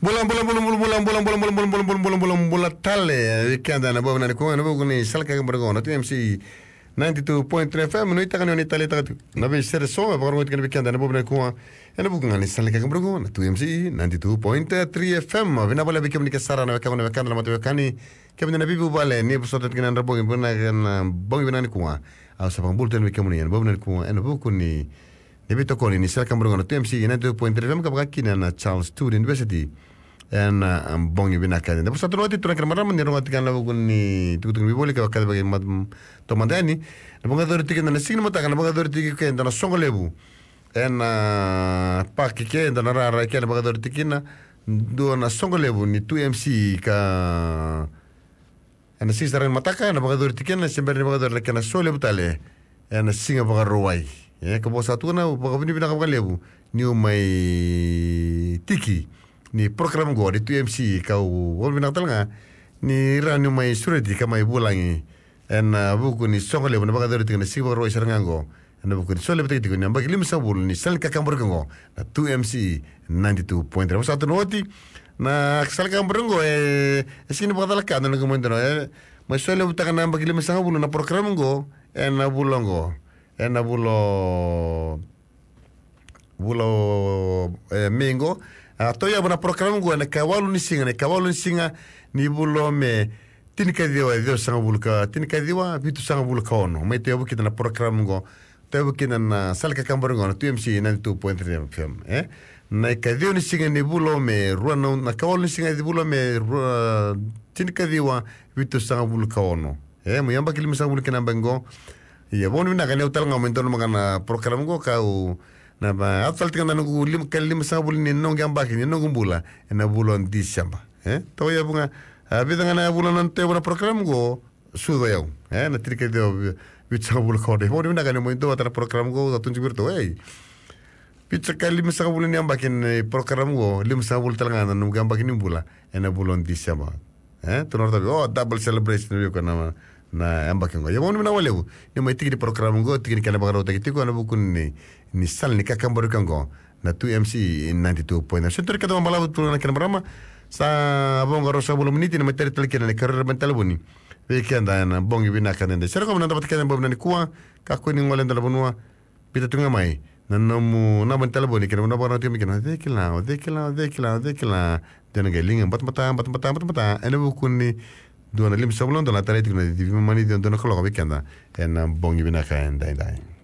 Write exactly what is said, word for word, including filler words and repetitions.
Bula, bula, bula, bula, bula, bula, bula, bula, bula, bula, bula, bula, bula, bula, bula tale. Vei keda ena bogi vinaka nikua, ena vuku ni sala ni kakaburaki qo na Two M C ninety-two point three F M, nuitaka ni o ni taleitaka tiko na veisere eso e vakarogoi tiko vei keda ena bogi vinaka nikua, ena vuku ga ni sala ni kakaburaki qo na Two M C ninety-two point three F M. Vinaka vakalevu vei kemuni ke sara na wekaqu, na wekada, na mataveiwekani, kemuni na veivuvale, ni vosota tiko ena bogi vinaka, ena bogi vinaka nikua. Au sa vakabula tale vei kemuni ena bogi vinaka nikua, ena vuku ni ni veitokoni ni sala ni kakaburaki qo na Two M C ninety-two point three F M, ka vaka kina na Charles Sturt University. Ena, ah, bogi vinaka. Eda vosota tu oti, turaga kei na marama, ni rogoca tiko ena vuku ni tukutuku ni vuli ka vakacavi vei keda mada yani. Na vakayacori tiko ena siga ni mataka, na vakayacori tiko e kea na soqo levu. Ena, ah, park e kea, ena rara e kea, na vakayacori tiko kina dua na soqo levu ni Two M C ka ena siga sara ni mataka, ena vakayacori tiko kina, se bera ni vakayacori na kena so levu tale ena siga Vakarauwai. E, ka vosa tu na vakavinavinaka vakalevu niu mai tiki ni program qo ni Two M C, kau vakavinavinaka tale ga ni rawa niu mai sureti ka mai vulagi ena vuku ni soqo levu ena vakayacori tiko ena siga Vakarauwai sara ga qo. Ena vuku ni solevu tiko ni yabaki limasagavulu ni sala ni kakaburaki qo na Two M C ninety-two point three. Vosota tu oti, na sala ni kakaburaki qo e, e sega ni vakacalaka na noqu mai dua na, e, mai solevutaka na yabaki limasagavulu na program qo ena vula qo. Ena vula, vula, e, Me qo. A, tauyavu na program qo ena ikawalu ni siga, na ikawalu ni siga ni vula Me, tinikaciwa ciwasagavulu ka, tinikaciwa vitusagavulu ka ono. Mai tauyavu kina na program qo. Tauyavu kina na sala ni kakaburaki qo na Two M C ninety-two point three F M, e? Na ikaciwa ni siga ni vula Me, rua na, na ikawalu ni siga ni vula Me, rua, tinikaciwa vitusagavulu ka ono. E, mai yabaki limasagavulu kina na yabaki qo. Ia, vakavinavinaka ni au tale ga mai donu mada ga na program qo, kau na, a, yaco tale tiko na noqu lima, ka limasagavulu ni noqu yabaki ni noqu bula ena vula o Diseba. E, tauyavu ga, a, vica ga na vula na tauyavu na program qo, sucu o yau. E, na tinikaciwa vi-, vitusagavulu ka ono. Vakavinavinaka ni mai dua vata na program qo, sa tu tiko vei iratou, ei. Vitusagavulu, limasagavulu ni yabaki ni program qo, limasagavulu tale ga na noqu yabaki ni bula ena vula o Diseba. E, tu na ratavi, o, double celebration vei koya na, na yabaki qo. Ia, vakavinavinaka vakalevu ni mai tiki ni program qo, tiki ni kena vakarautaki tiko ena vuku ni, ni sala ni kakaburaki qo na Two M C ninety-two point nine. Sa tu na kena vakabalavu, turaga kei na marama. Sa vo ga ruasagavulu na miniti ni mai tara tale kina na ikarua ni talevoni vei keda ena bogi vinaka edaidai. Sere, qo me na dua vata kece ena bogi vinaka nikua, kakua ni gole e dua na vanua, biuta tu ga mai na nomu naba ni talevoni kei na vanua vakarau tiko mai kina. O cei kila, o cei kila, o cei kila, o cei kila. Dua na qai liga batabata, batabata, batabata ena vuku ni dua na limasagavulu na dola, tarai tiko na cici veimama ni ciwa, dua na kaloko vei keda ena bogi vinaka edaidai.